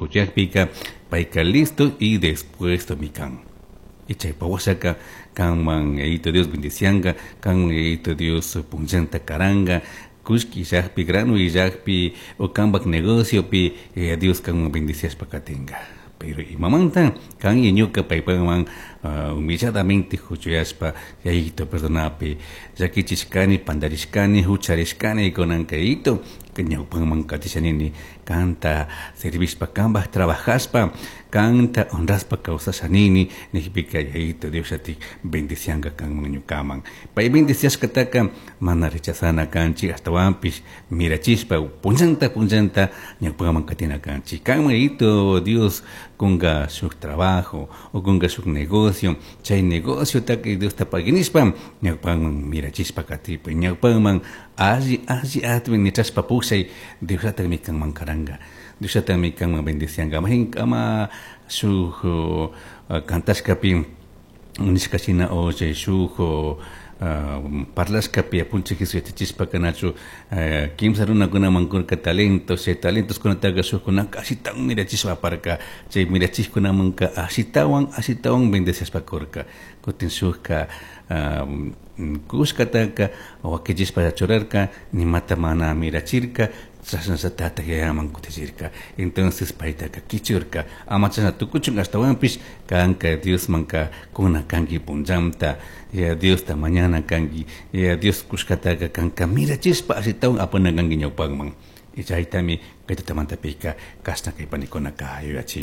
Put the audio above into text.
Huchuyajpika payka listo y dispuestomi kan. Y chaypa washaka kanman Yayito Dios bendicianga, kanman Yayito Dios punllanta karanga, kullki illakpi, grano illakpi, o kanpak negociopi, Yaya Dios kanman bendiciashpa katinga. Pero imamanta kan y ñuka paypakman humilladamente huchuyashpa Yayito perdonapi, llakichishkani, pandarishkani, hucharishkani, kunanka Yayito ñawpanman katishanini, kanta servishpa, kanpak trabajashpa, kanta honrashpa kawsashanini, nijpika Yayito Dios llatik bendicianga kanman ñukaman. Pay bendiciashkataka mana rechazana kanchik, ashtawanpish mirachishpa punllanta punllanta ñawpaman katina kanchik. Kanman Yayito Dios kunga shuk trabajo o kunga shuk negocio, chay negociotaka Diosta paginishpa ñawpaman mirachishpa katipuy, ñawpaman alli alli atmi nichashpa pushay, Diosllatakmi kanman karanga, Diosllatakmi kanman bendicianga. Majinkama shuk cantashkapi nishka shina o chay shuk parlashkapi apunchik Jesús yachachishpaka nachu kimsa runakunaman kurka talentos, chay talentoskunataka shukkunaka ashitawan mirachishpa aparka, chay mirachishkunamanka ashitawan ashitawan bendeciashpa kurka. Kutin shukka kushkataka wakichishpa churarka, nimata mana mirachirka, chashnallatatak yayaman kutichirka. Entonces paytaka kichurka, ama chashna tukuchun ashtawanpish kanka Diosmanka kuna kanki punllanta, Yaya Diosta mañana kanki, Yaya Dios kushkataka kanka mirachishpa ashitawan apana kanki ñawpakman. Y chaytami kay tutamantapika kashna kay panikunaka yuyachin.